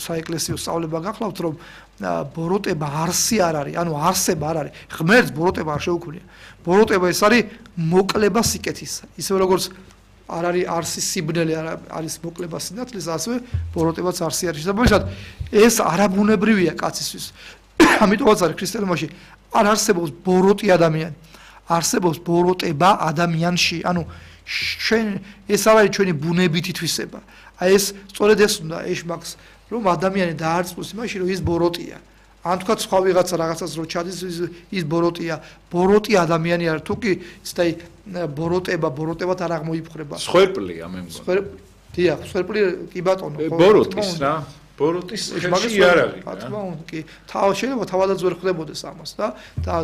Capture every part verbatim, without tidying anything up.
საეკლესიო სწავლება გახლავთ, რომ ბოროტება არსი არ არის, ანუ არსება არ არის. ღმერთს ბოროტება არ შეუქმნია. ბოროტება ეს არის მოკლება სიკეთისა. ისე როგორც არ არის არსი სიბნელე, არის მოკლება სინათლის, ასევე ბოროტებაც არსი არის. შესაბამისად, ეს არაბუნებრივია კაცისთვის. ამიტომაც არის ქრისტიანობაში არ არსებობს ბოროტი ადამიანი. არსებობს ბოროტება ადამიანში. ანუ ჩვენ ეს არ არის ჩვენი ბუნებითი თვისება. აი ეს სწორედ ეს უნდა ეშმაკს, რომ ადამიანი დაარწმუნოს იმაში, რომ ის ბოროტია. ან თქვა სხვა ვიღაცა რაღაცას რო ჩადის, ის ბოროტია. ბოროტი ადამიანი არ თუ კი ისეთი ბოროტება, ბოროტებად არ აღმოიფხრება. სხერპლია მე მგონი. სხერპლი, დიახ, სხერპლი კი ბატონო, ბოროტის რა. ბოროტის ხელში იარაღი. რა თქმა უნდა, კი. თავ შეიძლება თავადაც ვერ ხვდებოდეს ამას და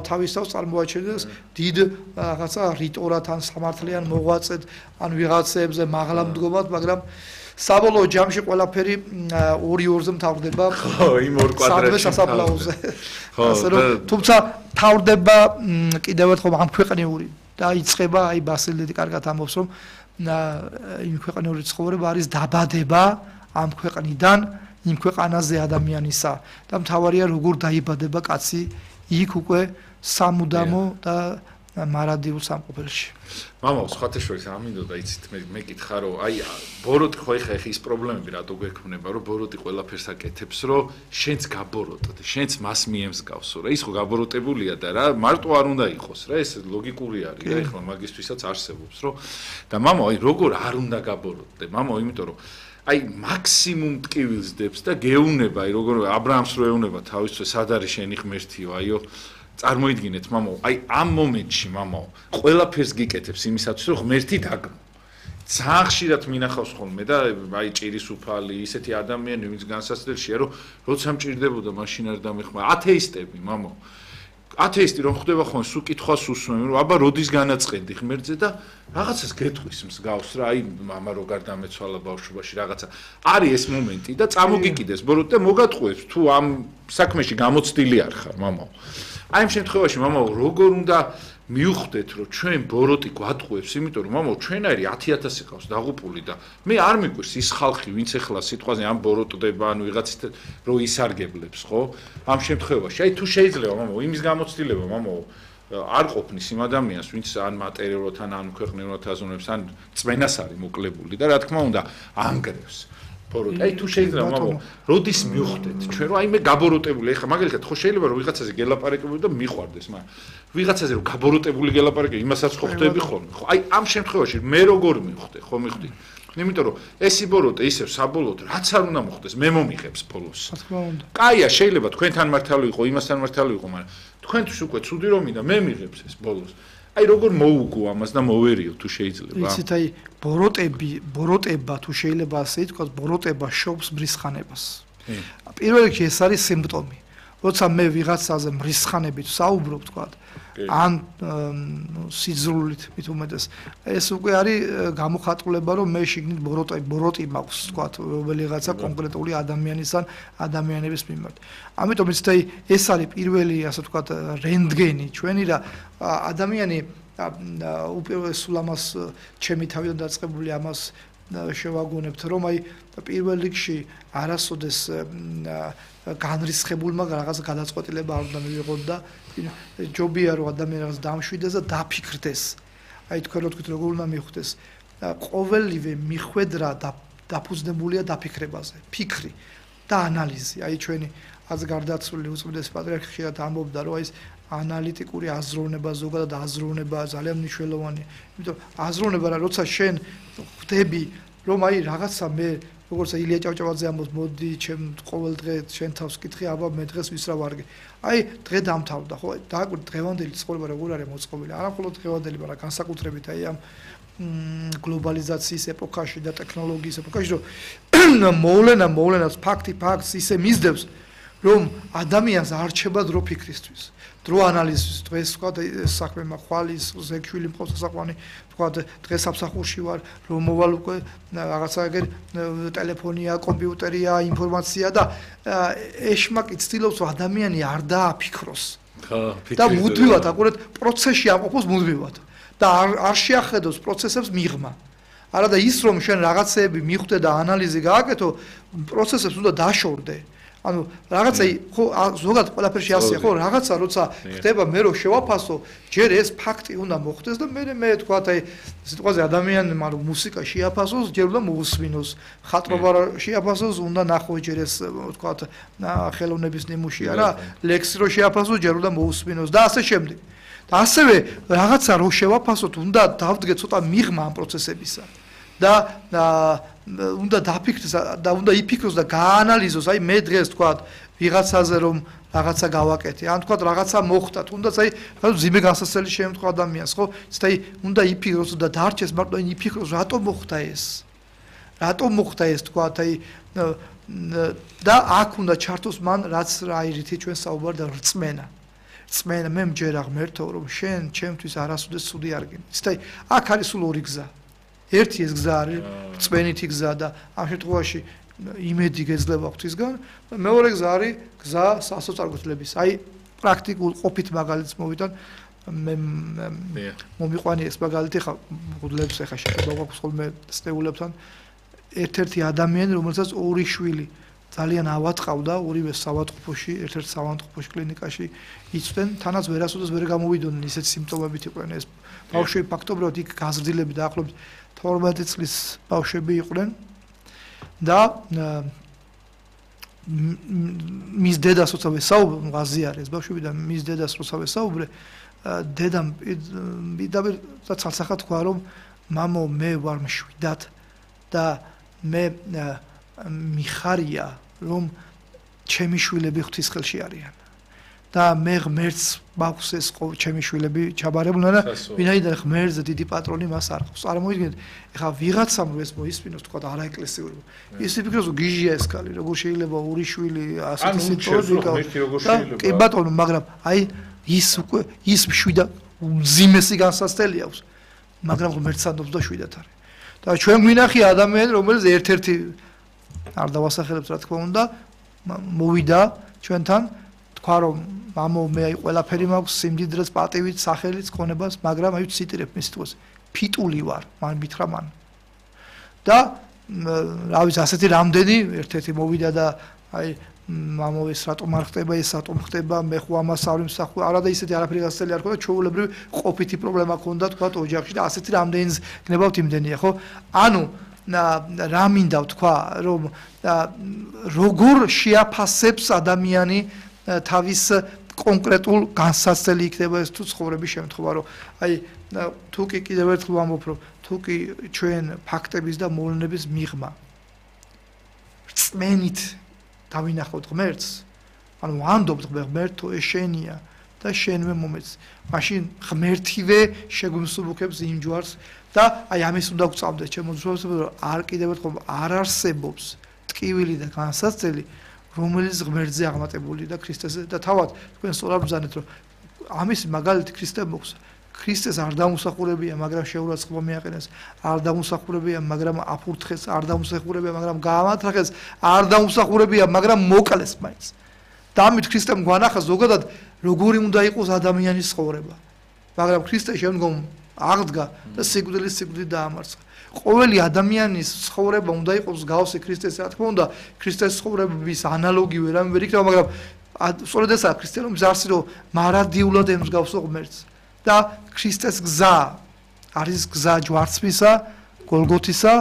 თავის თავს წარმოაჩენდეს დიდ რაღაცა რიტორად ან სამართლიან მოღვაწედ ან ვიღაცებზე მაღლა მდგომად, მაგრამ საბოლოო ჯამში ყველაფერი ორი ორზე მთავრდება. ხო, იმ ორ კვადრატში სასაფლაოზე. ასე რომ, თუმცა მთავრდება კიდევ ერთხელ ამ ქვეყნიური და იწყება აი ბასილდედი კარგად ამბობს, რომ იმ ქვეყნიური ცხოვრება არის დაბადება ამ ქვეყნიდან იმ ქვეყანაზე ადამიანისა და მთავარია როგორ დაიბადება კაცი იქ უკვე სამუდამო და მარადიულ სამყოფელში. მამაო, სხვათა შორის ამინდოდა იცით მე მეკითხა რომ აი ბოროტი ხო ეხა ეხა ის პრობლემები რატო გვექმნება რომ ბოროტი ყველაფერს აკეთებს რომ შენც გაბოროტოთ, შენც მას მიემსგავსო რა ის ხო გაბოროტებულია და რა მარტო არ უნდა იყოს რა ეს ლოგიკური არის რა ეხლა მაგისთვისაც არსებობს რომ და მამაო აი როგორ არ უნდა გაბოროტდე მამაო იმიტომ რომ აი მაქსიმუმ ტკივილს დებს და გეუნება აი როგორ აბრაამს რო ეუნება თავისთვე სად არის შენი ღმერთიო აიო წარმოიდგინეთ მამაო აი ამ მომენტში მამაო ყველაფერს გიკეთებს იმისათვის რომ ღმერთი დაგმო ძალიან ხშირად მინახავს ხოლმე და აი ჭირის უფალი ისეთი ადამიანი ვინც განსაცდელშია რომ როცა მჭირდებოდა მაშინ არ დამეხმა ათეისტები მამაო ათეისტი რომ ხდება ხოლმე სულ კითხვას უსმენ რომ აბა როდის განაწყენდი ღმერთზე და რაღაცას გეტყვის მსგავს რა აი მამა როგარ დამეცვალა ბავშვობაში რაღაცა არის ეს მომენტი და წამოგიკიდეს ბოროტ და მოგატყუებს თუ ამ საქმეში გამოცდილი არ ხარ მამაო აი ამ შემთხვევაში მამაო როგორ უნდა მიუხვდეთ რომ ჩვენ ბოროტი გვატყუებს იმიტომ რომ მამაო ჩვენაირი ათი ათასი ყავს დაღუპული და მე არ მიყვირს ის ხალხი ვინც ეხლა სიტყვაზე ამ ბოროტდება ან ვიღაცით რო ისარგებლებს ხო ამ შემთხვევაში აი თუ შეიძლება მამაო იმის გამოცდილება მამაო არ ყოფნის იმ ადამიანს ვინც ან მატერიალურად ან ან ქვეყნიერულად აზროვნებს ან წმენას არის მოკლებული და რა თქმა უნდა ანგრევს ბოროტი აი თუ შეიძლება მამაო როდის მივხვდეთ ჩვენ რომ აი მე გაბოროტებული ეხლა მაგალითად ხო შეიძლება რომ ვიღაცაზე გელაპარაკებოდი და მიყვარდეს მაგრამ ვიღაცაზე რომ გაბოროტებული გელაპარაკე იმასაც ხო ხვდები ხოლმე ხო აი ამ შემთხვევაში მე როგორ მივხვდე ხო მივხვდი იმიტომ რომ ესი ბოროტე ისევ საბოლოოდ რაც არ უნდა მოხდეს მე მომიღებს ბოლოს რა თქმა უნდა კაია შეიძლება თქვენთან მართალი იყო იმასთან მართალი იყო მაგრამ თქვენთვის უკვე ცუდი რომ მინდა მე მიღებს ეს ბოლოს აი როგორ მოუგო ამას და მოვერიო თუ შეიძლება იცით აი ბოროტები ბოროტება თუ შეიძლება ასე ითქვას ბოროტება შობს მრისხანებას პირველ რიგში ეს არის სიმპტომი როცა მე ვიღაცაზე მრისხანებით საუბრობ თქვა ან სიძრულით მით უმეტეს ეს უკვე არის გამოხატულება რომ მე შიგნით ბოროტი ბოროტი მაქვს თქვა რომელიღაცა კონკრეტული ადამიანის ან ადამიანების მიმართ ამიტომ იცით აი ეს არის პირველი ასე თქვა რენტგენი ჩვენი რა ადამიანი უპირველესულ ამას ჩემი თავიდან დაწყებული ამას შევაგონებთ რომ აი პირველ რიგში არასოდეს განრისხებულმა რაღაც გადაწყვეტილება არ უნდა მივიღოთ და ჯობია რომ ადამიანი რაღაც დამშვიდეს და დაფიქრდეს აი თქვენ რო თქვით როგორ უნდა მიხვდეს ყოველივე მიხვედრა და დაფუძნებულია დაფიქრებაზე ფიქრი და ანალიზი აი ჩვენი აზ გარდაცვლილი უწმიდეს პატრიარქი ხშირად ამბობდა რომ აი ეს ანალიტიკური აზროვნება ზოგადად აზროვნება ძალიან მნიშვნელოვანია იმიტომ აზროვნება რა როცა შენ ხვდები რომ აი რაღაცა მე როგორც ილია ჭავჭავაძე ამბობს მოდი ჩემ ყოველ დღე შენ თავს კითხე აბა მე დღეს ვის რა ვარგე აი დღე დამთავრდა ხო დააკვირდი დღევანდელი ცხოვრება როგორ არის მოწყობილი არა მხოლოდ დღევანდელი მაგრამ განსაკუთრებით აი ამ გლობალიზაციის ეპოქაში და ტექნოლოგიის ეპოქაში რომ მოვლენა მოვლენას ფაქტი ფაქტს ისე მისდევს რომ ადამიანს არ რჩება დრო ფიქრისთვის დრო ანალიზის დღეს თქვა საქმე მახვალის ზეგშვილი მყავს სასაყვანი თქვა დღეს სამსახურში ვარ რომ მოვალ უკვე რაღაცა ეგერ ტელეფონია კომპიუტერია ინფორმაცია და ეშმაკი ცდილობს რომ ადამიანი არ დააფიქროს ხო და მუდმივად აკურეთ პროცესში ამყოფოს მუდმივად და არ არ შეახედოს პროცესებს მიღმა არადა ის რომ შენ რაღაცეები მიხვდე და ანალიზი გააკეთო, პროცესებს უნდა დაშორდე. ანუ რაღაცა ხო ზოგადად ყველაფერში ასეა ხო რაღაცა როცა ხდება მე რო შევაფასო ჯერ ეს ფაქტი უნდა მოხდეს და მე მე თქვა აი სიტყვაზე ადამიანმა რომ მუსიკა შეაფასოს ჯერ უნდა მოусმინოს ხატრობა შეაფასოს უნდა ნახოს ჯერ ეს თქვა ხელოვნების ნიმუში არა ლექსი რო შეაფასოს ჯერ უნდა მოусმინოს და ასე შემდეგ და ასევე რაღაცა რო შევაფასოთ უნდა დავდგე ცოტა მიღმა ამ პროცესებისა და უნდა დაფიქრდეს და უნდა იფიქროს და გაანალიზოს აი მე დღეს თქვა ვიღაცაზე რომ რაღაცა გავაკეთე ან თქვა რაღაცა მოხდა თუნდაც აი ზიმე განსასწრელი შემთხვევა ადამიანს ხო აი უნდა იფიქროს და დარჩეს მარტო იფიქროს რატომ მოხდა ეს რატომ მოხდა ეს თქვა აი და აქ უნდა ჩართოს მან რაც რაირითი ჩვენ საუბარ და რწმენა რწმენა მე მჯერა ღმერთო რომ შენ ჩემთვის არასოდეს ცუდი არ გინდა აი აქ არის სულ ორი გზა ერთი ეს გზა არის წვენითი გზა და ამ შემთხვევაში იმედი გეძლება ღვთისგან და მეორე გზა არის გზა სასოწარკვეთლების აი პრაქტიკულ ყოფით მაგალითს მოვიდან მე მომიყვანი ეს მაგალითი ხა მგლებს ეხა შეიძლება გვაქვს ხოლმე სტეულებთან ერთ-ერთი ადამიანი რომელსაც ორი შვილი ძალიან ავატყავდა ორივე საავადმყოფოში ერთ-ერთ საავადმყოფოში კლინიკაში იცვდნენ თანაც ვერასოდეს ვერ გამოვიდოდნენ ისეთ სიმპტომებით იყვნენ ეს ბავშვები ფაქტობრივად იქ გაზრდილები დაახლოებით თორმეტი წლის ბავშვები იყვნენ და მის დედას როცა ვესაუბრე ღაზიარეს ბავშვები და მის დედას როცა ვესაუბრე დედამ პირდაპირ ცალსახად თქვა რომ მამო მე ვარ მშვიდად და მე მიხარია რომ ჩემი შვილები ღვთის ხელში არიან და მე ღმერთს მაქვს ეს ჩემი შვილები ჩაბარებულნა და ვინაიდან ღმერთზე დიდი პატრონი მას არ ყავს. წარმოიდგინეთ, ეხლა ვიღაცამ ეს მოისმინოს თქვა და არაეკლესიური. ის იფიქროს გიჟია ეს კალი, როგორ შეიძლება ორი შვილი ასეთი სიტუაცია. კი ბატონო, მაგრამ აი ის უკვე ის შვიდა მძიმესი განსაცდელი აქვს. მაგრამ ღმერთს ანდობს და შვიდად არის. და ჩვენ გვინახია ადამიანი, რომელიც ერთ-ერთი არ დავასახელებთ რა თქმა უნდა, მოვიდა ჩვენთან თქვა რომ მამო მე აი ყველაფერი მაქვს სიმდიდრეც პატივით სახელით ქონებას მაგრამ აი ციტირებ მის თვალს ფიტული ვარ მან მითხრა მან და რა ვიცი ასეთი რამდენი ერთ-ერთი მოვიდა და აი მამო ეს რატომ არ ხდება ეს რატომ ხდება მე ხო ამას არ ვიმსახურე არა და ისეთი არაფერი გასწრელი არ ხდება ჩვეულებრივი ყოფითი პრობლემა ქონდა თქვა ოჯახში და ასეთი რამდენიც გნებავთ იმდენია ხო ანუ რა მინდა ვთქვა რომ როგორ შეაფასებს ადამიანი თავის კონკრეტულ განსაცდელი იქნება ეს თუ ცხოვრების შემთხვევა რომ აი თუ კი კიდევ ერთხელ ვამბობ რომ თუ კი ჩვენ ფაქტების და მოვლენების მიღმა რწმენით დავინახოთ ღმერთს ანუ ვანდობთ ღმერთო ეს შენია და შენვე მომეც მაშინ ღმერთივე შეგვიმსუბუქებს იმ ჯვარს და აი ამის უნდა გვწამდეს ჩემო ძროებს რომ არ კიდევ ერთხელ არ არსებობს ტკივილი და განსაცდელი რომელიც ღმერთზე აღმატებული და ქრისტეზე და თავად თქვენ სწორად ბრძანეთ რომ ამის მაგალითი ქრისტე მოხს ქრისტეს არ დამუსახურებია მაგრამ შეურაცხყოფა მიაყენეს არ დამუსახურებია მაგრამ აფურთხეს არ დამუსახურებია მაგრამ გაამართლეს არ დამუსახურებია მაგრამ მოკლეს მაინც და ამით ქრისტემ გვანახა ზოგადად როგორი უნდა იყოს ადამიანის ცხოვრება მაგრამ ქრისტე შემდგომ აღდგა და სიკვდილის სიკვდილი დაამარცხა ყოველი ადამიანის ცხოვრება უნდა იყოს გავსი ქრისტეს რა თქმა უნდა ქრისტეს ცხოვრების ანალოგივე რამე ვერ იქნება მაგრამ სწორედ ესაა ქრისტიანობის არსი რომ მარადიულად ემსგავსო ღმერთს და ქრისტეს გზა არის გზა ჯვარცმისა გოლგოთისა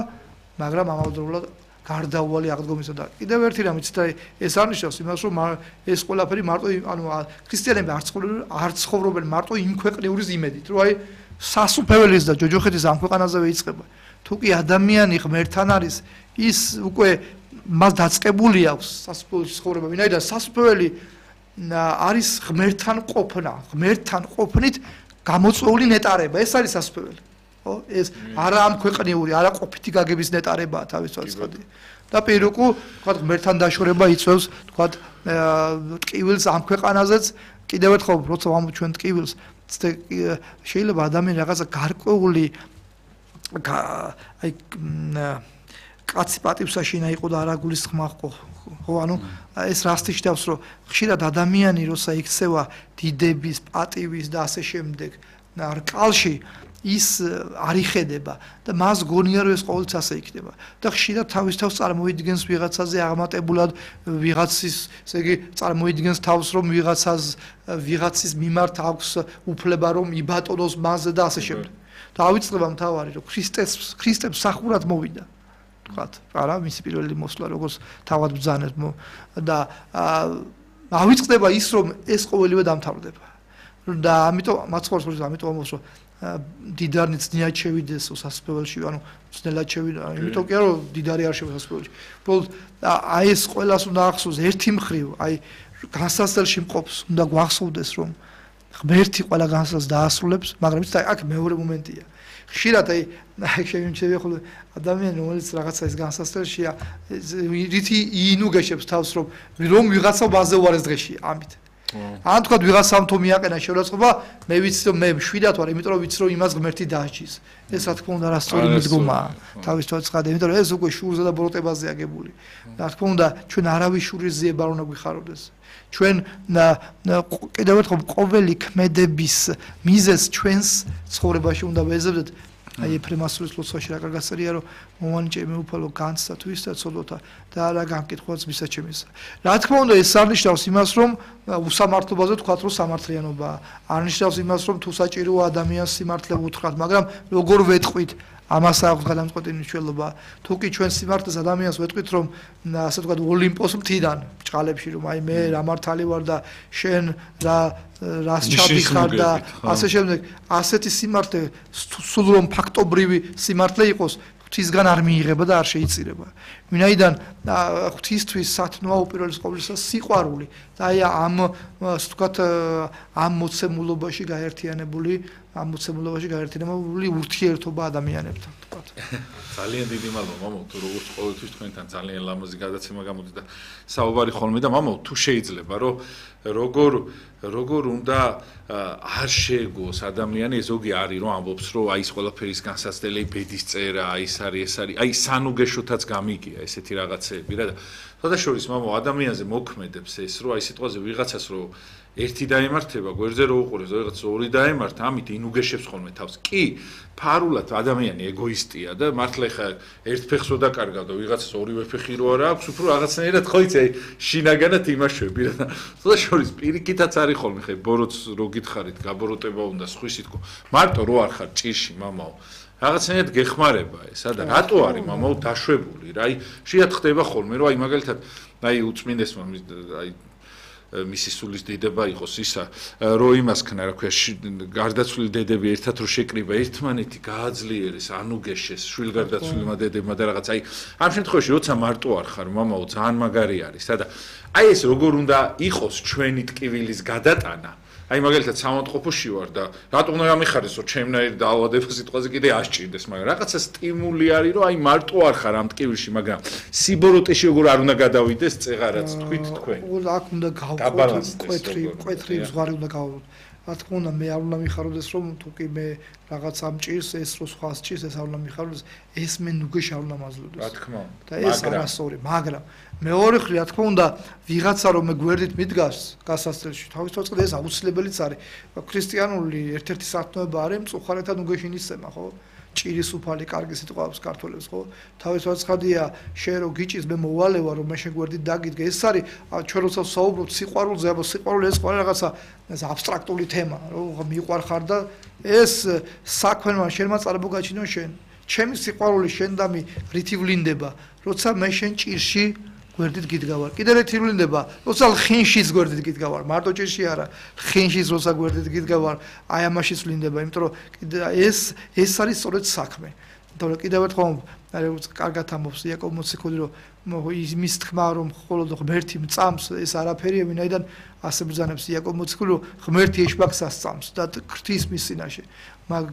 მაგრამ ამავდროულად გარდაუვალი აღდგომისა და კიდევ ერთი რამე ცით ეს არნიშნავს იმას რომ ეს ყველაფერი მარტო ანუ ქრისტიანები არ ცხოვრობენ არ ცხოვრობენ მარტო იმ ქვეყნიურის იმედით რომ აი სასუფეველის და ჯოჯოხეთის ამ ქვეყანაზევე იწყება თუ კი ადამიანი ღმერთთან არის ის უკვე მას დაწყებული აქვს სასუფეველში ცხოვრება ვინაიდან სასუფეველი არის ღმერთთან ყოფნა ღმერთთან ყოფნით გამოწვეული ნეტარება ეს არის სასუფეველი ხო ეს არა ამ ქვეყნიური არა ყოფითი გაგების ნეტარებაა თავის თვალსაჩინო და პირუკუ თქვა ღმერთთან დაშორება იწევს თქვა ტკივილს ამ ქვეყანაზეც კიდევ ერთხელ როცა ვამბობ ჩვენ ტკივილს შეიძლება ადამიანი რაღაცა გარკვეული აი კაცი პატივსაშინა იყო და არა გულისხმა ხო ხო ანუ ეს რასტი ჟდავს რომ ხშირად ადამიანი როცა იქცევა დიდების პატივის და ასე შემდეგ რკალში ის არ იხედება და მას გონია რომ ეს ყოველთვის ასე იქნება და ხშირად თავის თავს წარმოიდგენს ვიღაცაზე აღმატებულად ვიღაცის ესე იგი წარმოიდგენს თავს რომ ვიღაცას ვიღაცის მიმართ აქვს უფლება რომ იბატონოს მასზე და ასე შემდეგ და ავიწყდება მთავარი რომ ქრისტეს ქრისტემ სახურად მოვიდა თქვათ არა მისი პირველი მოსვლა როგორც თავად ბრძანებს და ავიწყდება ის რომ ეს ყოველივე დამთავრდება და ამიტომ მაცხორს ამიტომ ამბობს რომ დიდარნი ძნელად შევიდეს სასწავლებელში ანუ ძნელად შევიდა იმიტომ კი არა რომ დიდარი არ შევა სასწავლებელში უბრალოდ აი ეს ყველას უნდა ახსოვს ერთი მხრივ აი განსასწრებში მყოფს უნდა გვახსოვდეს რომ ღმერთი ყველა განსასწრს დაასრულებს მაგრამ ის აქ მეორე მომენტია ხშირად აი შემიძლია ხოლმე ადამიანი რომელიც რაღაცა ის განსასწრებშია რითი ინუგეშებს თავს რომ რომ ვიღაცა ბაზე უარეს დღეში ამით ან თქვა ვიღაცამ თუ მიაყენა შეურაცხყოფა მე ვიცი რომ მე შვიდად ვარ იმიტომ რომ ვიცი რომ იმას ღმერთი დააჭის ეს რა თქმა უნდა რასწორი მიდგომაა თავის თვალსაჩინო იმიტომ რომ ეს უკვე შურზე და ბროტებაზე აგებული რა თქმა უნდა ჩვენ არავის შურის ზიება არ უნდა გვიხაროდეს ჩვენ კიდევ ერთხელ ყოველი ქმედების მიზეზს ჩვენს ცხოვრებაში უნდა ვეზებდეთ აი ეფრემასურის ლოცვაში რა კარგად წერია რომ მომანიჭე მე უფალო განცდა თუ ისდა ცოდოთა და რა განკითხვაც მისაჩემისა რა თქმა უნდა ეს არნიშნავს იმას რომ უსამართლობაზე თქვათ რომ სამართლიანობაა არნიშნავს იმას რომ თუ საჭიროა ადამიანს სიმართლე უთხრათ მაგრამ როგორ ვეტყვით ამას აქვს გადამწყვეტი მნიშვნელობა თუ კი ჩვენ სიმართლეს ადამიანს ვეტყვით რომ ასე ვთქვათ ოლიმპოს მთიდან ბჭყალებში რომ აი მე რა მართალი ვარ და შენ რა რას ჩადიხარ და ასე შემდეგ ასეთი სიმართლე სულ რომ ფაქტობრივი სიმართლე იყოს ღვთისგან არ მიიღება და არ შეიწირება ვინაიდან ღვთისთვის სათნოა უპირველეს ყოვლისა სიყვარული და აი ამ ასე ვთქვათ ამ მოცემულობაში გაერთიანებული ამ მოცემულობაში გაერთიანებული ურთიერთობა ადამიანებთან ვთქვათ ძალიან დიდი მადლობა მამო თუ როგორც ყოველთვის თქვენთან ძალიან ლამაზი გადაცემა გამოდის და საუბარი ხოლმე და მამო თუ შეიძლება რომ როგორ როგორ უნდა არ შეეგოს ადამიანი ზოგი არის რომ ამბობს რომ აი ეს ყველაფერის განსაცდელი ბედის წერა აი ეს არის ეს არის აი სანუგეშოთაც გამიგია ესეთი რაღაცეები რა და შესაძლოა მამო ადამიანზე მოქმედებს ეს რომ აი სიტყვაზე ვიღაცას რომ ერთი დაემართება გვერდზე რო უყურებს ვიღაც ორი დაემართა ამით ინუგეშებს ხოლმე თავს კი ფარულად ადამიანი ეგოისტია და მართლა ხა ერთ ფეხსო დაკარგა და ვიღაცას ორივე ფეხი რო არა აქვს უფრო რაღაცნაირად ხო იცი აი შინაგანად იმაშვები რა და შესაძლოა პირიქითაც არის ხოლმე ხა ბოროტს რო გითხარით გაბოროტება უნდა სხვისი თქო მარტო რო არ ხარ ჭირში მამაო რაღაცნაირად გეხმარება ესა და რატო არის მამაო დაშვებული რა აი შეათ ხდება ხოლმე რომ აი მაგალითად აი უწმინდესმა აი მისი სულის დედება იყოს ისა რომ იმას ქნა რა ქვია გარდაცვლილი დედები ერთად რო შეკრიბა ერთმანეთი გააძლიერეს ანუგეშეს შვილგარდაცვლილმა დედებმა და რაღაც აი ამ შემთხვევაში როცა მარტო არ ხარ მამაო ძალიან მაგარი არის სადა აი ეს როგორ უნდა იყოს ჩვენი ტკივილის გადატანა აი მაგალითად სამონტყოფოში ვარ და რატომ უნდა გამიხარეს რომ ჩემნაირი დაავადება სიტყვაზე კიდე ასჭირდეს მაგრამ რაღაცა სტიმული არის რომ აი მარტო არ ხარ ამ ტკივილში მაგრამ სიბოროტეში როგორ არ უნდა გადავიდეს წეღარაც თქვით თქვენ აქ უნდა გავყოთ კვეთრი კვეთრი ზღვარი უნდა გავყოთ რა თქმა უნდა მე არ უნდა მიხაროდეს რომ თუ კი მე რაღაც ამჭირს ეს რო სხვა სჭირს ეს არ უნდა მიხაროდეს ეს მე ნუგეში არ უნდა მაძლოდეს რა თქმა უნდა და ეს არასწორი მაგრამ მეორე ხრი რა თქმა უნდა ვიღაცა რომ მე გვერდით მიდგას გასასწრებში თავის თვალსაჩინო ეს აუცილებელიც არის ქრისტიანული ერთ-ერთი სათნოება არის მწუხარეთა ნუგეში ნისცემა ხო ჭირის უფალი კარგი სიტყვა აქვს ქართველებს ხო თავის თვალსაჩინოა შენ რო გიჭის მე მოვალევა რომ მე შენ გვერდით დაგიდგე ეს არის ჩვენ როცა საუბრობთ სიყვარულზე აბა სიყვარული ეს ყველა რაღაცა ეს აბსტრაქტული თემა რომ მიყვარხარ და ეს საქმეა შენმა წარმოგაჩინო შენ ჩემი სიყვარული შენდამი რითი ვლინდება როცა მე შენ ჭირში გვერდით გიდგავარ კიდე ერთი ვლინდება როცა ხინშიც გვერდით გიდგავარ მარტო ჭირში არა ხინშიც როცა გვერდით გიდგავარ აი ამაშიც ვლინდება იმიტომ რომ კიდე ეს ეს არის სწორედ საქმე და კიდევ ერთხელ როგორც კარგად ამბობს იაკობ მოციქული რომ იმის თქმა რომ მხოლოდ ღმერთი მწამს ეს არაფერია ვინაიდან ასე ბრძანებს იაკობ მოციქული რომ ღმერთი ეშბაკსას წამს და ხრთის მის წინაშე მაგ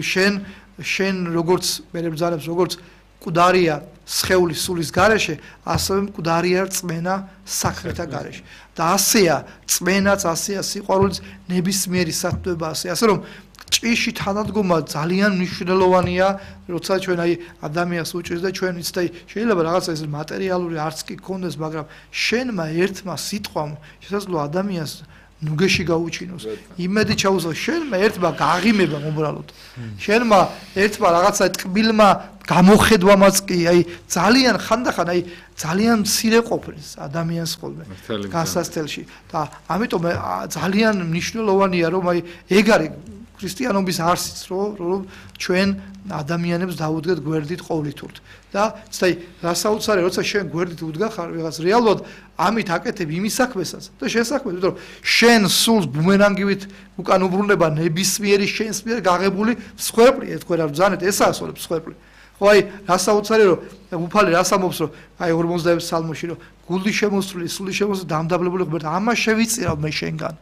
შენ შენ როგორც მე ბრძანებს როგორც მკვდარია სხეულის სულის გარეშე, ასევე მკვდარია რწმენა საქმეთა გარეშე. და ასეა რწმენაც, ასეა სიყვარულიც, ნებისმიერი სათნოება ასე. ასე რომ ჭიში თანადგომა ძალიან მნიშვნელოვანია, როცა ჩვენ აი ადამიანს უჭირს და ჩვენ იცით აი შეიძლება რაღაცა ეს მატერიალური არც კი გქონდეს, მაგრამ შენმა ერთმა სიტყვამ შესაძლოა ადამიანს ნუგეში გაუჩინოს. იმედი ჩაუსვა შენმა ერთმა გაღიმება უბრალოდ. შენმა ერთმა რაღაცა ტკბილმა გამოხედვამაც კი აი ძალიან ხანდახან აი ძალიან მცირე ყოფნის ადამიანს ხოლმე გასასწელში და ამიტომ ძალიან მნიშვნელოვანია რომ აი ეგ არის ქრისტიანობის არსიც რომ ჩვენ ადამიანებს დავუდგეთ გვერდით ყოვლითურთ და ცდაი რასაუცარი როცა შენ გვერდით უდგახარ ვიღაც რეალურად ამით აკეთებ იმის საქმესაც და შესაქმეს იმიტომ რომ შენ სულს ბუმერანგივით უკან უბრუნება ნებისმიერი შენს მიერ გაღებული მსხვერპლი ეთქვენ რა ბრძანეთ ესაა სულებს მსხვერპლი ხო აი რასაუცარი რომ უფალი რას ამბობს რომ აი ორმოცდაექვსი სალმოში რომ გული შემოსული სული შემოსული დამდაბლებული ღმერთი ამას შევიწირავ მე შენგან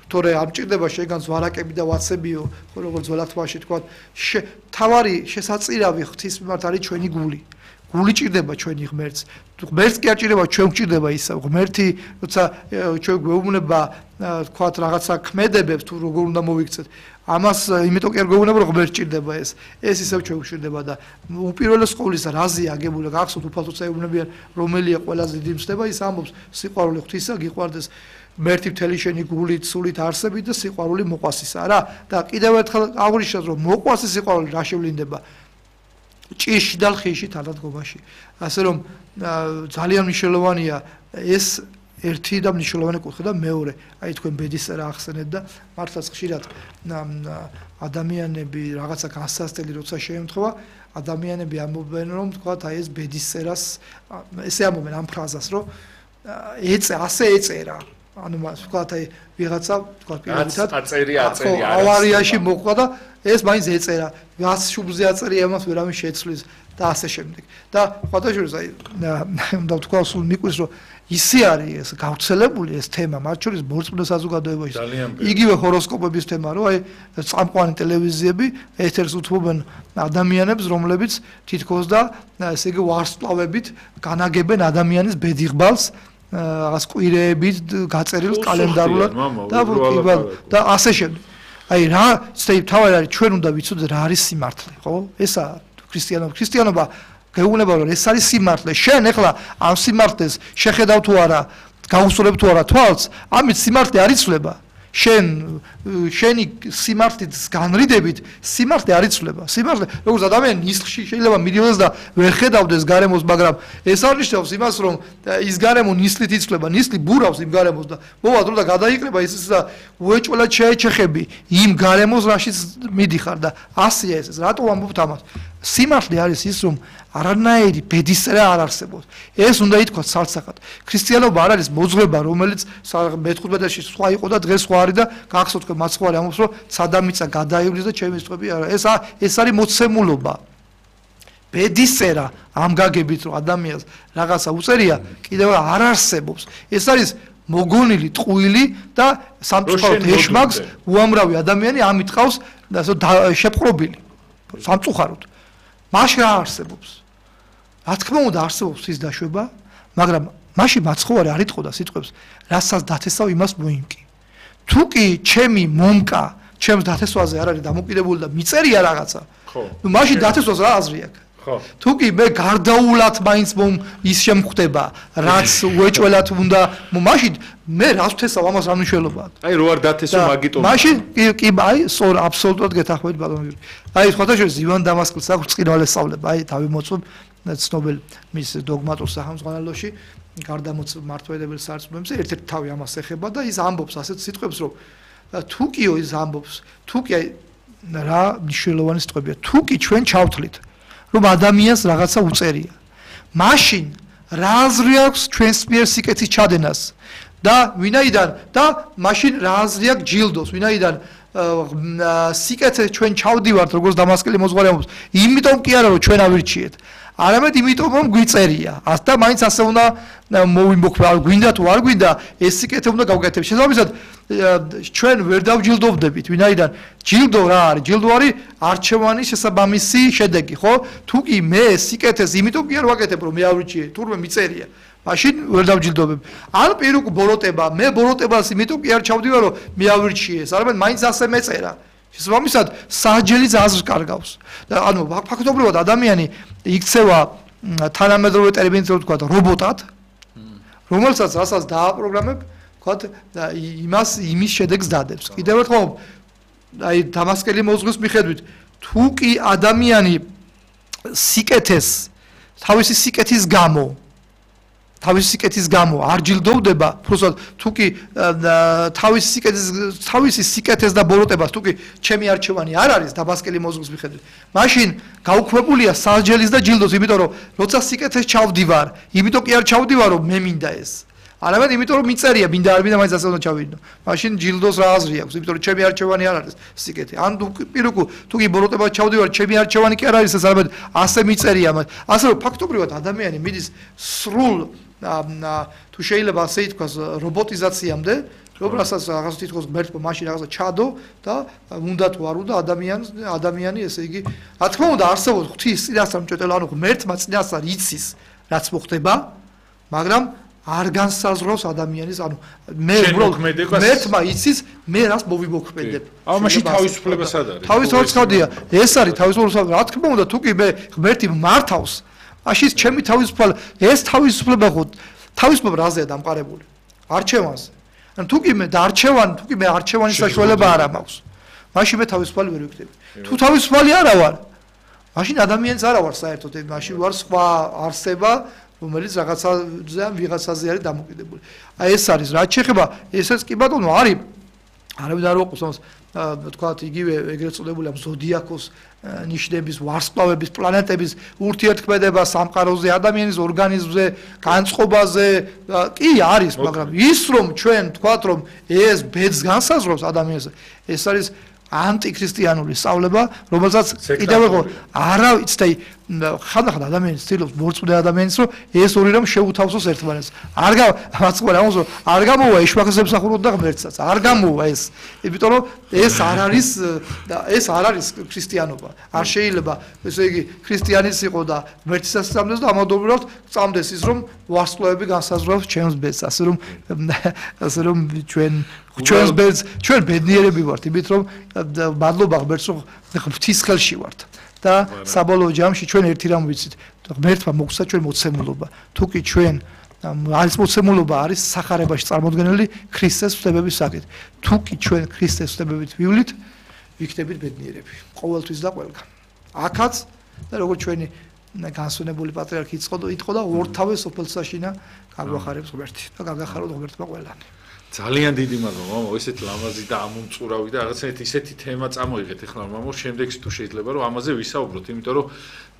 თორე ამჭირდება შეგან ზვარაკები და ვაცებიო ხო როგორც ძველათვაში თქვა თავარი შესაწირავი ღვთის მიმართ არის ჩვენი გული გული ჭირდება ჩვენი ღმერთს ღმერთს კი აჭირდება ჩვენ გვჭირდება ისა ღმერთი როცა ჩვენ გვეუბნება თქვა რაღაცა ქმედებებს თუ როგორ უნდა მოვიქცეთ ამას იმიტომ კი არ გვეუბნება რომ ღმერთს ჭირდება ეს ეს ისევ ჩვენ გვჭირდება და უპირველეს ყოვლისა რაზეა აგებული გახსოვთ უფალთოცა ეუბნებიან რომელია ყველაზე დიდი მსდება ის ამბობს სიყვარული ღვთისა გიყვარდეს მერთი მთელი შენი გულით, სულით არსებით და სიყვარული მოყვასისა რა და კიდევ ერთხელ აღნიშნავს რომ მოყვასის სიყვარული რა შევლინდება ჭირში და ლხიში თანადგომაში ასე რომ ძალიან მნიშვნელოვანია ეს ერთი და მნიშვნელოვანი კუთხე და მეორე აი თქვენ ბედისწერა ახსენეთ და მართლაც ხშირად ადამიანები რაღაცა გასასწრელი როცა შეემთხვევა ადამიანები ამბობენ რომ თქვა აი ეს ბედისწერას ესე ამბობენ ამ ფრაზას რომ ეწე ასე ეწერა ანუ მას ვთქვათ აი ვიღაცა ვთქვათ პირობითად აწერია აწერია ავარიაში მოყვა და ეს მაინც ეწერა გას შუბლზე აწერია ამას ვერავინ შეცვლის და ასე შემდეგ და ხათაშორის აი უნდა ვთქვა სულ მიკვრის რომ ისე არის ეს გავრცელებული ეს თემა მათ შორის ბორცმუნდა საზოგადოებაში იგივე ჰოროსკოპების თემა რომ აი წამყვანი ტელევიზიები ეთერს უთმობენ ადამიანებს რომლებიც თითქოს და ესე იგი ვარსკვლავებით განაგებენ ადამიანის ბედიღბალს რაღაც კვირეებით გაწერილ კალენდარულად და და ასე შემდეგ. აი რა თავად არის ჩვენ უნდა ვიცოდეთ რა არის სიმართლე, ხო? ესაა ქრისტიანობა. ქრისტიანობა გეუბნება რომ ეს არის სიმართლე. შენ ეხლა ამ სიმართლეს შეხედავ თუ არა, გაუსწორებ თუ არა თვალს, ამით სიმართლე არ იცვლება. შენ შენი სიმართლით განრიდებით სიმართლე არ იცვლება. სიმართლე როგორც ადამიანი ნისლში შეიძლება მიდიოდეს და ვერ ხედავდეს გარემოს, მაგრამ ეს არნიშნავს იმას, რომ ის გარემო ნისლით იცვლება. ნისლი ბურავს იმ გარემოს და მოვად რომ და გადაიკრება ის და უეჭველად შეეჩეხები იმ გარემოს, რაშიც მიდიხარ და ასია ეს. რატო ამბობთ ამას? სიმართლე არის ის, რომ არანაირი ბედისწერა არ არსებობს. ეს უნდა ითქვას სალსახად. ქრისტიანობა არ არის მოძღვრება, რომელიც მეთყუათმეტში სხვა იყო და დღეს სხვა არის და გახსოვთ თქვენ მაცხვარი ამბობს, რომ ცადამიცა გადაივლის და ჩემი სწვები არა. ეს ეს არის მოცემულობა. ბედისწერა ამ გაგებით, რომ ადამიანს რაღაცა უწერია, კიდევ არ არსებობს. ეს არის მოგონილი ტყუილი და სამწუხაროდ ეშმაკს უამრავი ადამიანი ამით ყავს შეპყრობილი. სამწუხაროდ. მაშინ რა არსებობს? რა თქმა უნდა არსებობს ის დაშვება, მაგრამ მაშინ მაცხოვარი არ იტყოდა სიტყვებს, რასაც დათესავ იმას მოიმკი. თუ კი ჩემი მომკა, ჩემს დათესვაზე არ არის დამოკიდებული და მიწერია რაღაცა, ხო. ნუ მაშინ დათესვას რა აზრი აქვს? ხო. თუ კი მე გარდაულად მაინც მომ ის შემხვდება, რაც უეჭველად უნდა, მაშინ მე რას ვთესავ ამას რა მნიშვნელობაა? აი რო არ დათესო მაგიტო. მაშინ კი აი სწორ აბსოლუტურად გეთანხმებით ბატონო. აი ხოთაშორის ივან დამასკელს აქვს წინვალე სწავლება, აი თავი მოწვევ ცნობილ მის დოგმატურ სახელმძღვანელოში გარდამოწვევ მართლმადიდებელ სარწმუნოებზე ერთ-ერთი თავი ამას ეხება და ის ამბობს ასეთ სიტყვებს რომ თუ კი ის ამბობს თუ კი აი რა მნიშვნელოვანი სიტყვებია თუ კი ჩვენ ჩავთვლით რომ ადამიანს რაღაცა უწერია მაშინ რა აზრი აქვს ჩვენს მიერ სიკეთის ჩადენას და ვინაიდან და მაშინ რა აზრი აქვს ჯილდოს ვინაიდან სიკეთე ჩვენ ჩავდივართ როგორც დამასკელი მოძღვარი ამბობს იმიტომ კი არა რომ ჩვენ ავირჩიეთ არამედ იმიტომ რომ გვიწერია და მაინც ასე უნდა მოვიმოქმედო გვინდა თუ არ გვინდა ეს სიკეთე უნდა გავკეთებთ შესაბამისად ჩვენ ვერ დავჯილდოვდებით ვინაიდან ჯილდო რა არის ჯილდო არის არჩევანის შესაბამისი შედეგი ხო თუ კი მე სიკეთეს იმიტომ კი არ ვაკეთებ რომ მე ავირჩიე თურმე მიწერია მაშინ ვერ დავჯილდოვებ ან პირუკ ბოროტება მე ბოროტებას იმიტომ კი არ ჩავდივარ რომ მე ავირჩიეს არამედ მაინც ასე მეწერა შესაბამისად საჯელი აზრს კარგავს და ანუ ფაქტობრივად ადამიანი იქცევა თანამედროვე ტერმინით რო ვთქვა რობოტად რომელსაც რასაც დააპროგრამებ თქვათ იმას იმის შედეგს დადებს. კიდევ ერთხელ აი დამასკელი მოზღვის მიხედვით თუ კი ადამიანი სიკეთეს თავისი სიკეთის გამო თავისი სიკეთის გამო არ ჯილდოვდება, უბრალოდ თუ კი თავისი სიკეთის თავისი სიკეთის და ბოროტებას თუ კი ჩემი არჩევანი არ არის დამასკელი მოზღვის მიხედვით, მაშინ გაუქმებულია სასჯელის და ჯილდოს, იმიტომ რომ როცა სიკეთეს ჩავდივარ, იმიტომ კი არ ჩავდივარ, რომ მე მინდა ეს. არამედ იმიტომ რომ მიწერია, მინდა არ მინდა, მაინც ასე უნდა ჩავიდნო. მაშინ ჯილდოს რა აზრი აქვს, იმიტომ რომ ჩემი არჩევანი არ არის სიკეთე. ან პირუკუ თუ კი ბოროტებას ჩავდივარ, ჩემი არჩევანი კი არ არის ეს, არამედ ასე მიწერია. ასე რომ ფაქტობრივად ადამიანი მიდის სრულ თუ შეიძლება ასე ითქვას რობოტიზაციამდე, რომელსაც რაღაც თითქოს ღმერთმა მაშინ რაღაცა ჩადო და უნდა თუ არ უნდა ადამიანს ადამიანი ესე იგი რა თქმა უნდა არსებობს ღვთის წინასწარ მჭედელი, ანუ ღმერთმა წინასწარ იცის რაც მოხდება, მაგრამ არ განსაზღვრავს ადამიანის, ანუ მე უბრალოდ ღმერთმა იცის მე რას მოვიმოქმედებ. აუ მაშინ თავისუფლება სად არის? თავისუფლება ხადია. ეს არის თავისუფლება. რა თქმა უნდა თუ კი მე ღმერთი მართავს, მაშინ ჩემი თავისუფლება, ეს თავისუფლება ხო თავისუფლება რაზეა დამყარებული? არჩევანზე. ან თუ კი მე დარჩევან, თუ კი მე არჩევანის საშუალება არ მაქვს, მაშინ მე თავისუფალი ვერ ვიქნები. თუ თავისუფალი არა ვარ, მაშინ ადამიანს არა ვარ საერთოდ, მაშინ ვარ სხვა არსება, რომელიც რაღაცაზე ან ვიღაცაზე არის დამოკიდებული. აი ეს არის, რაც შეეხება, ესეც კი ბატონო არის, არავინ არ ვაყოს, თქვათ იგივე ეგრეთ წოდებული ამ ზოდიაქოს ნიშნების, ვარსკვლავების, პლანეტების ურთიერთქმედება სამყაროზე, ადამიანის ორგანიზმზე, განწყობაზე, კი არის, მაგრამ ის რომ ჩვენ თქვათ რომ ეს ბედს განსაზღვრავს ადამიანს, ეს არის ანტიქრისტიანული სწავლება, რომელსაც კიდევ ხო არა ვიცი, ხანდახან ადამიანს ცდილობს მორწმუნე ადამიანს, რომ ეს ორი რამ შეუთავსოს ერთმანეთს. არ გამოვაწყობა ამას, რომ არ გამოვა ეშვახის ემსახუროთ და ღმერთსაც. არ გამოვა ეს. იმიტომ რომ ეს არ არის ეს არ არის ქრისტიანობა. არ შეიძლება, ესე იგი, ქრისტიანიც იყო და ღმერთსაც წამდეს და ამავდროულად წამდეს ის, რომ ვარსკვლავები განსაზღვრავს ჩემს ბედს, ასე რომ ასე რომ ჩვენ ჩვენს ბედს, ჩვენ ბედნიერები ვართ, იმით რომ მადლობა ღმერთს, რომ ღვთის ხელში ვართ. და საბოლოო ჯამში ჩვენ ერთი რამ ვიცით, ღმერთმა მოგცა ჩვენ მოცემულობა. თუ კი ჩვენ არის მოცემულობა არის სახარებაში წარმოდგენილი ქრისტეს ვსებების საკით. თუ კი ჩვენ ქრისტეს ვსებებით ვივლით, ვიქნებით ბედნიერები. ყოველთვის და ყველგან. აქაც და როგორც ჩვენი განსვენებული პატრიარქი იტყოდა და ორთავე სოფელსაშინა გაგვახარებს ღმერთი და გაგახაროთ ღმერთმა ყველანი. ძალიან დიდი მადლობა მამა, ესეთი ლამაზი და ამომწურავი და რაღაცა ისეთი თემა წამოიღეთ ახლა მამა, შემდეგში თუ შეიძლება რომ ამაზე ვისაუბროთ, იმიტომ რომ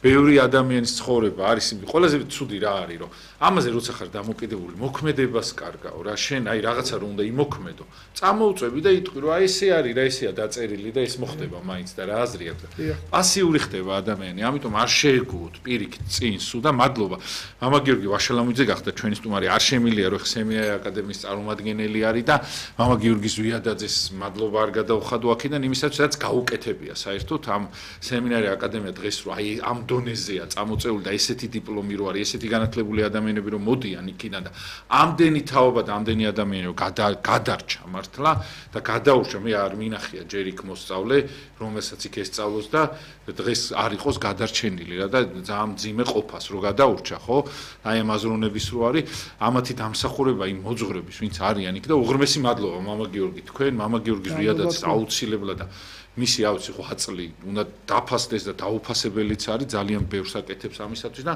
ბევრი ადამიანის ცხოვრება არის იმ ყველაზე ცუდი რა არის, რომ ამაზე როცა ხარ დამოკიდებული, მოქმედებას კარგაო რა, შენ აი რაღაცა რომ უნდა იმოქმედო, წამოუწვევი და იტყვი რომ აი ესე არის რა, ესეა დაწერილი და ეს მოხდება მაინც და რა აზრი აქვს. პასიური ხდება ადამიანი, ამიტომ არ შეეგუოთ პირიქით წინ სულ და მადლობა. მამა გიორგი ვაშალამიძე გახდა ჩვენი სტუმარი, არ შემილია რომ სემინარი აკადემიის წარმომადგენელი არის და მამა გიორგი ზვიადაძეს მადლობა არ გადავხადო აქედან იმისაც რაც გაუკეთებია საერთოდ ამ სემინარი აკადემია დღეს რო აი ამ დონეზეა წამოწეული და ესეთი დიპლომი რო არის, ესეთი განათლებული ადამიანები რომ მოდიან იქიდან და ამდენი თაობა და ამდენი ადამიანი რომ გადარჩა მართლა და გადაურჩა, მე არ მინახია ჯერ იქ მოსწავლე, რომელსაც იქ ესწავლოს და დღეს არ იყოს გადარჩენილი რა და ძალიან მძიმე ყოფას რო გადაურჩა, ხო? აი ამ აზროვნების რო არის, ამათი დამსახურება იმ მოძღვრების, ვინც არიან იქ და უღრმესი მადლობა მამა გიორგი თქვენ, მამა გიორგი ზვიადაძეს აუცილებლად და მისი ავცი ხო აწლი უნდა დაფასდეს და დაუფასებელიც არის, ძალიან ბევრს აკეთებს ამისათვის და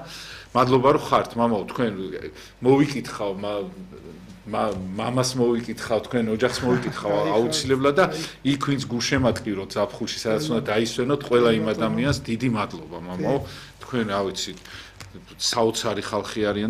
მადლობა რომ ხართ მამაო, თქვენ მოვიკითხავ მამას მოვიკითხავ, თქვენ ოჯახს მოვიკითხავ აუცილებლად და იქ ვინც გულშემატკივროთ ზაფხულში, სადაც უნდა დაისვენოთ ყველა იმ ადამიანს დიდი მადლობა მამაო, თქვენ რა ვიცი საოცარი ხალხი არიან და